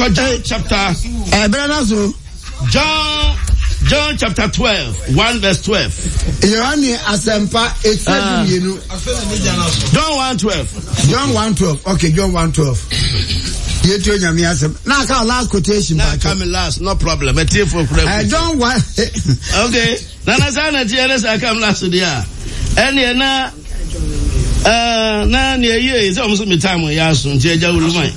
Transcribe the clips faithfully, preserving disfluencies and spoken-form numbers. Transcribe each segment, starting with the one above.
Yɛkɔ John chapter. Ɛbrɛ na so. John John chapter twelve one verse twelve. Yohane asɛmpa etire ah. mmienu. John one twelve. John one twelve okay John one twelve. Yɛtu onyame asɛm. Na aka last quotation. Na aka mi last no problem. Ɛtie fo kura. Eh, John one. Okay. Nana saa na ɛteɛ ne saa kam last deɛ a ɛneɛ na uh, na nea ɛyie sɛ ɔmo so me time yɛ aso nti agya wuluman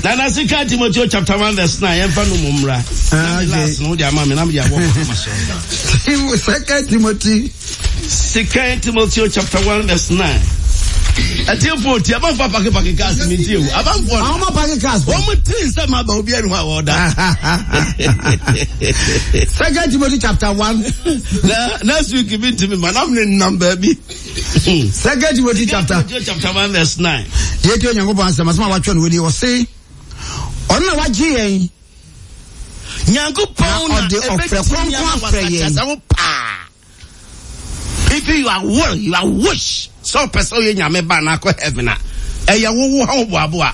nana sika Timoteo chapter one verse nine yɛmfa no mu mmra na me last no wode ama me na mede abɔ ma so Second Timothy Second Timothy chapter one verse nine. Atiefo ti abanfo apake pake cars mi nti ewu abanfo no. Àwọn apake cars. Wɔn mu tiri nsɛm aba obi ɛnu hɔ a wɔda. Second Timothy chapter one. Na next week bi ntumi ma nam ne nam baabi. Second Timothy chapter. Chapter one verse nine. Yɛ ti Onyankopɔn asɛm asɛm a watwerɛ no wɔ ni ɔse ɔno na wagye yɛn. Nyankopɔn na ɔde ɔfrɛ kronkron afrɛ yɛn. Wo paa. If you are will, you are wish. Sɛ ɔpɛ sɛ ɔyɛ nyame ba na akɔ heaven a, ɛyɛ wowo ha woboaboa.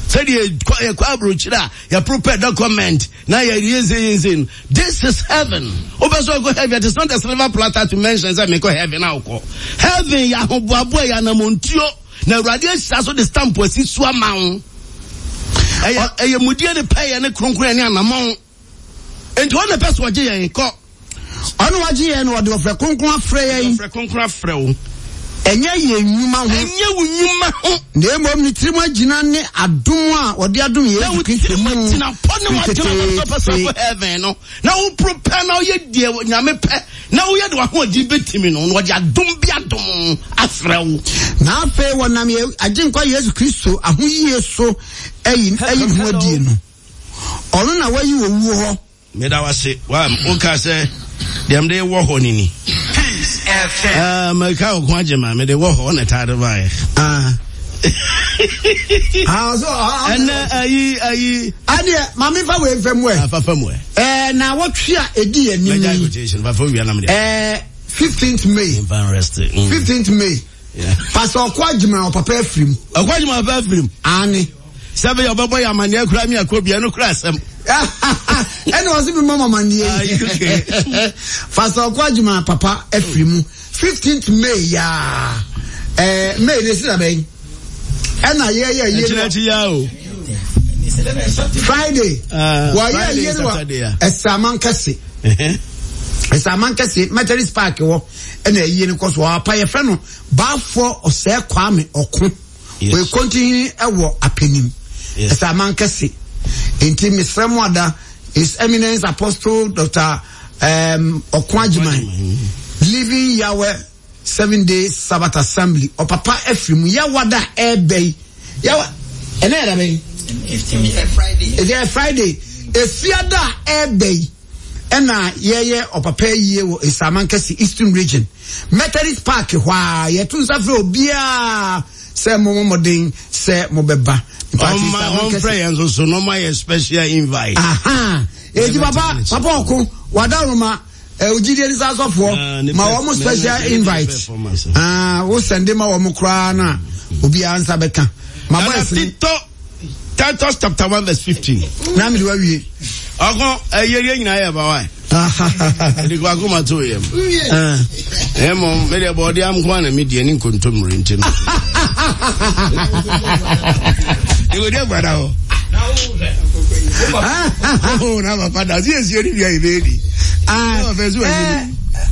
Sɛdeɛ yɛkɔ aburokyire a yɛ prepare document na yɛ yɛnse yɛnse no. This is heaven. Wopɛ sɛ ɔkɔ heaven, it is not a silver platter to mention sɛ mekɔ heaven a wokɔ. Heaven yɛ ahoboaboa yɛ anamontuo na Awurade ahyira so de stamp asi so ama wo. Ɛyɛ ɛyɛ mudie ne pɛyɛ ne kronkron ne anamɔn. Nti ɔno na ɛpɛ sɛ ɔgye yɛn kɔ. Ɔno wagye yɛn na ɔde ɔfrɛ kronkron afrɛ yɛn. Ɔfrɛ kronkron afrɛ wo. Ɛnyɛ yɛn nnwuma ho. Ɛnyɛ wo nnwuma ho. Na mmom ne tirim agyina ne adom a ɔde adom Yesu Kristo mu. Na wo tirim agyina pɔ ne wagyina wɔ sɛ ɔpɛ sɛ ɔkɔ heaven no. Na wo prepare na woyɛ deɛ Nyame pɛ na woyɛ de w'ahoɔden bɛtumi no na ɔde adom bi adom afrɛ wo. Na afei wɔnam yɛn Agyenkwa Yesu Kristo ahoyie so ayi ayi ne ho adie no. Ɔno na wayi owuo hɔ. Meda wo ase. Wa woka sɛ deɛ mede wɔ hɔ no ni. Ah, meka wo ko agye ma mede wɔ hɔ na ɛtaa de baeɛ. Ah. Ah, so, ah, ɛnɛ ayi ayi. Adeɛ maame fa wei nfɛ mu ɛ. Afa fa mu ɛ. Ɛɛ na wɔtwe a edi yɛ nim. Mɛgya quotation fa fa wia nam deɛ. Ɛɛ fifteenth May. Fifteenth May. Pastor Ɔkɔ Agyima ɔpapa afirim. Ɔkɔ Agyima ɔpapa afirim. Aane. Sɛ bɛyɛ ɔbɛbɔ yɛ amaneɛ kura mi akɔ bia no kura asɛm. Ɛna ɔsi mi mɔ amaneɛ yi. Pastor Ɔkɔ Agyima papa afiri mu fifteenth May yaa ɛɛ May ne si na bɛyi ɛna yɛ yɛ yie no. Ɛkyinakyi yaa o. Friday. Wɔyɛ yie no wɔ Ɛsɛaman kɛse. Ɛsɛaman kɛse Methodist Park wɔ ɛna ɛyie no kɔ so ɔapa yɛfrɛ no Baafoɔ Ɔsɛɛ Kwame Ɔko. Wɔyɛ kɔntihene wɔ Apenim, Ɛsɛaman kɛse. Nti mesrɛ mo ada His Eminence Apostle Doctor Um, Ɔko Agyeman, Living Yahweh Seven Day Sabbath Assembly, ɔpapa afiri mu, Yawada ɛɛbɛ yi, Yawa, ɛnɛ yɛ dabɛ yi? Ɛyɛ Friday. Efiada a ɛɛbɛ yi, ɛna yɛyɛ ɔpapa yie wɔ Esaman kɛse Eastern Region Methodist Park hɔ a yɛto nsa frɛ obiara sɛ mo mmɔden sɛ mobɛba. Ɔma ɔmfrɛ yɛn nso so na ɔma yɛ special invite. Aha eti papa papa ɔko wadaroma ogyidie nsa asɔfoɔ ma wɔn special invite. Ah, wo sɛnde ma wɔn koraa na obiara nsa bɛka. Ma bɔ ɛsene. Titus chapter one verse fifteen. Na mi de wa wie. Ɔkɔ ɛyɛ yɛ nyinaa yɛ ba wa. Ɛdi kɔ akoma to yɛ mu. Ɛmɔ mi de bɔ ɔdi am kwan na mi di ɛni nkontomire nti no. Ìwé di agbada hɔ. Oh, na papa da si esi eri bia ebe edi. Ah,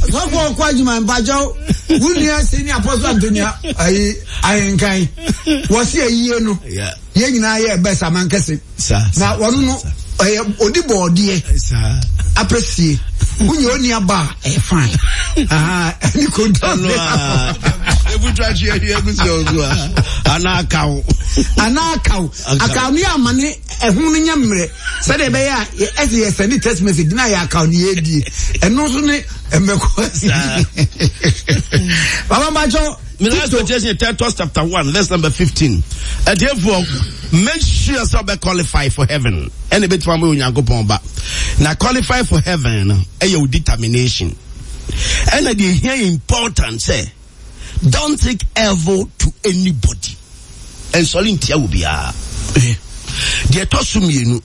sɔfo ɔkɔ adwuma mpakyɛw wo nua si ni apɔsɔ Antonia ayi ahenkan wɔsi ayie no yɛn nyinaa yɛ bɛs amankɛse na wɔn no ɛyɛ odi bɔɔdeɛ apɛsie wonyɛ oni aba a ɛyɛ fine ɛne kontomire ebutu atwi atwi egusi ɔzu a ana akaw ana akaw akaw ne amane ɛho no nyɛ mmerɛ sɛdeɛ ɛbɛyɛ a ɛsɛ yɛ sɛne text message na yɛ akaw ne yɛdie ɛno nso ne mmɛkɔ baba mpakyɛw My last quotation Titus chapter one, verse number fifteen. And therefore, make sure so be qualify for heaven. And a bit from Onyankopɔn ba. Now qualify for heaven, eh, your determination. And the here important say, don't take evil to anybody. And so ntia wo bia. Deɛ ɛtɔ so mmienu,